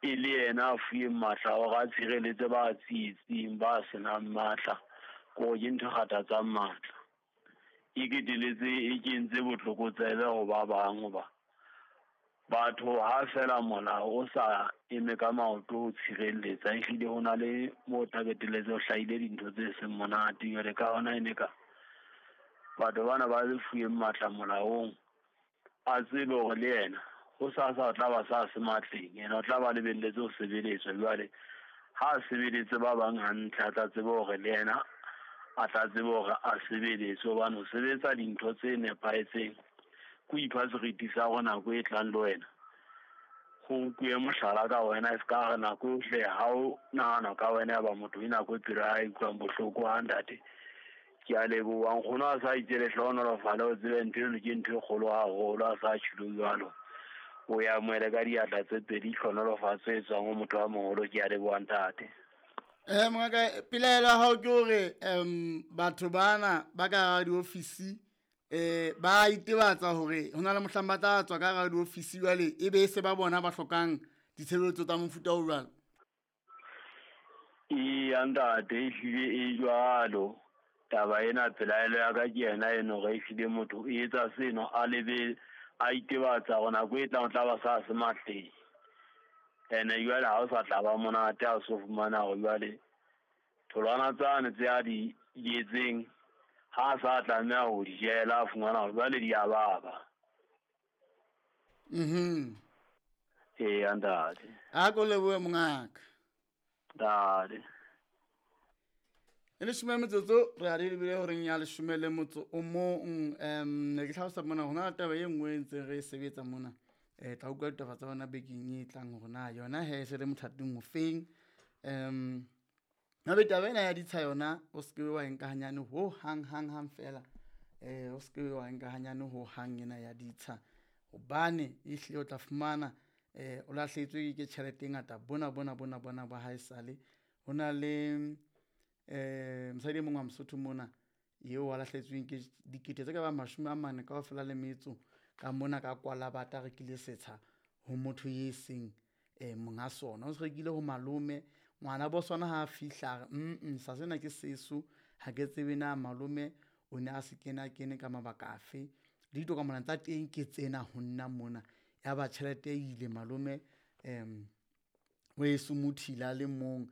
E le yena a fuweng matla a hore a tshireletse ba tsietsing, ba senang matla. Kore ke ntho e kgathatsang matla. E keteletse e kentse botlokotsebe ho ba bang hoba batho ha fela molao o sa eme ka maoto ho tshireletsa, ehlile ho na le mo tla qetelletse ho hlahile dintho tse seng monate. Jwale ka hona e ne ka batho bana ba fuweng matla molaong, a tsebe hore le yena ho sasa o tla ba sa se matleng, yena o tla ba lebelletse ho sebeletswa. Jwale ha a sebeletse ba bang hantle, a tla tsebe hore le yena a tla tsebe hore a sebeletse hobane ho sebetsa dintho tse nepahetseng ke ho ipha seriti sa hore nako e tlang le wena ho nkuwe mohlala ka wena, e ska re nako yohle ha o nahana ka wena ya ba motho e nako e pelo ya hae e utlwang bohloko. Ha ntate, ke a leboha nkgono a sa itse lehlohonolofale o tsebe ntho eno ke ntho e kgolo haholo a sa tjholo jwalo. O e amohele ka diatla tse pedi, tlhonolofatso e tswang ho motho a moholo. Ke a leboha ntate. Mongaka, pelaelo ya hao ke hore batho bana ba ka hara diofisi ba itebatsa hore ho na le mohlang ba tla tswa ka hara diofisi jwale e be se ba bona ba hlokang ditshebeletso tsa mofuta o jwalo. Eya ntate, ehlile e jwalo. Taba ena pelaelo ya ka ke yena eno hore ehlile motho o etsa seno a lebe a itebatsa hore nako e tlang o tla ba sa se matleng. Ene jwale ha o sa tla ba monate ha o so fumana hore jwale tholwana tsane tse a di jetseng ha a sa tlameha ho di jela, a fumana hore jwale di a baba. Eya ntate. A ko lebohe mongaka. Ntate. E leshome metsotso re a di lebile horeng ya leshome le motso o mong. Ne ke hlalosa mona ho na le taba e nngwe e ntseng re e sebetsa mona. Tla utlwa ditaba tsa bona bekeng e tlang hore na yona he e se le mothating o feng. Hape taba ena ya ditsha yona o se ke wa e nka hanyane ho hang hang hang fela. O se ke wa e nka hanyane ho hang ena ya ditsha, hobane ehlile o tla fumana o lahlehetswe ke tjhelete e ngata bona bona bona bona ba haesale. Ho na le mosadi e mong wa Mosotho mona eo a lahlehetsweng ke dikete tse ka bang 40 kaofela le metso ka mona ka kwala bata rekile setsha ho motho e seng monga sona. O se rekile ho malome, ngwana bo sona ha a fihla a re, sa sena ke seso, ha ke tsebe na malome o ne a se kena kene ka mabaka afe. Le ditokomane tsa teng ke tsena ho nna mona. Ya ba tjhelete e ile malome o e somothile a le mong,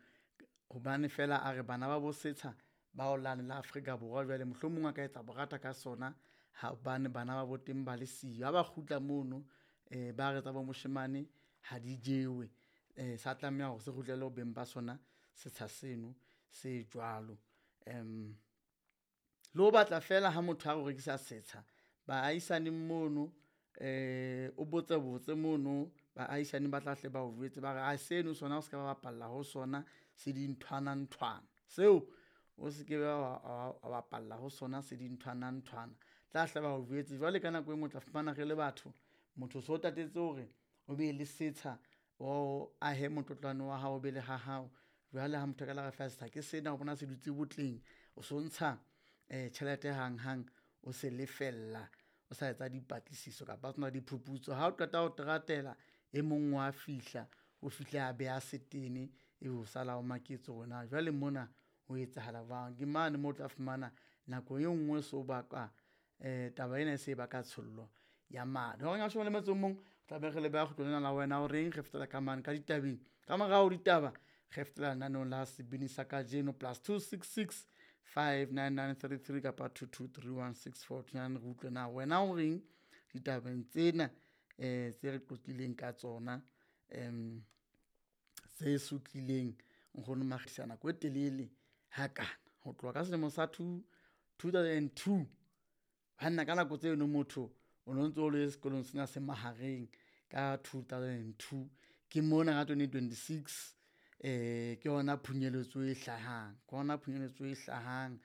hobane fela a re bana ba bo setsha ba o lane la Afrika Borwa jwale mohlomong a ka etsa borata ka sona hobane bana ba bo teng ba le siyo. Ha ba kgutla mono ba re tsa bo moshemane ha di jewe, sa tlameha hore se kgutlele ho beng ba sona setsha seno se jwalo. Le ho batla fela ha motho a re o rekisa setsha baahisaneng mono, o botse botse mono baahisane ba tla hle ba o jwetse ba re a seno sona o se ka ba bapalla ho sona, se dinthwana nthwana seo o se ke wa bapalla ho sona, se dinthwana nthwana tla hle ba o jwetse. Jwale ka nako e nngwe o tla fumana re le batho, motho so tatetse hore o be le setsha, o ahe motlotlwane wa hao, o be le ha hao. Jwale ha motho a ka la re fa setsha ke sena, o bona se dutse botleng, o so ntsha tjhelete hang hang, o se lefella o sa etsa dipatlisiso kapa tsona diphuputso. Ha o qeta ho teratela e mong wa fihla, o fihle a beha setene, ebe o sala o maketse hore na jwale mona ho etsahala jwang. Ke mane moo o tla fumana nako e nngwe so baka taba ena e se baka tshollo ya madi. Horeng ya 11, tla be re le beha kgutlong lena la wena o reng re fetela ka mane ka ditabeng. Ka morao ditaba re fetela lenaneong la sebini sa kajeno plus 266 59933 kapa 22316429. Re utlwe na wena o reng ditabeng tsena tse re qoqileng ka tsona, tse sutlileng nkgono Makgisa nako e telele hakana ho tloha ka selemo sa 2002. Banna ka nako tseno motho o no ntso o le sekolong sena se mahareng ka 2002. Ke mona ka 2026 ke hona phunyeletso e hlahang, ke hona phunyeletso e hlahang.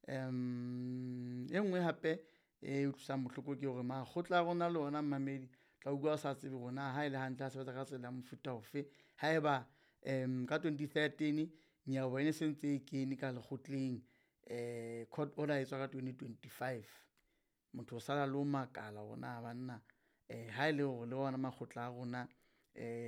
E nngwe hape e utlwisang bohloko ke hore makgotla a rona le ona mmamedi tla utlwa o sa tsebe hore na ha ele hantle a sebetsa ka tsela ya mofuta ofe. Haeba ka 2013 nyewe e sentse e kene ka lekgotleng, court order e tswa ka 2025, motho o sala le ho makala hore na banna ha ele hore le ona makgotla a rona.